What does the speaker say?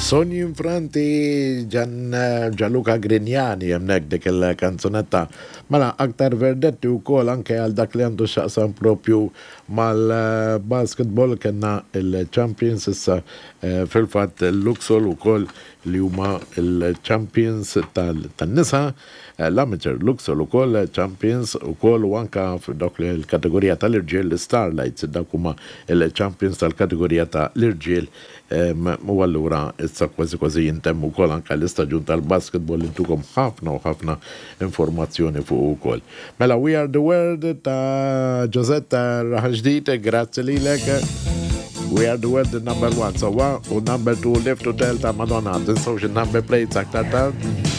Sogni Infranti Gian, Gianluca Grignani hemmhekk dik il-kanzunetta. Mela aktar verdetti wkoll anke għal dak li għandu x'jaqsam propju mal-basketball kellna il-champions issa eh, fil-fatt Luxol ukoll li huma il-champions tan-nisa. L-Amateur Luxol ukoll champions ukoll u anka f'dawk l-kategorija tal-irġiel l-Starlights dawk huma l-champions tal-kategorija ta' l-irġiel u allura issa kważi kważi jintemm ukoll anka l-istaġun tal-basketball li ntukom ħafna u ħafna informazzjoni fuqu wkoll. Mela We Are The World ta' Josette Raħal Ġdid, grazzi lilek. We Are The World number one, sewwa, u number two Live to Tell ta' Madonna. Tinsewx il-number plates aktar tard.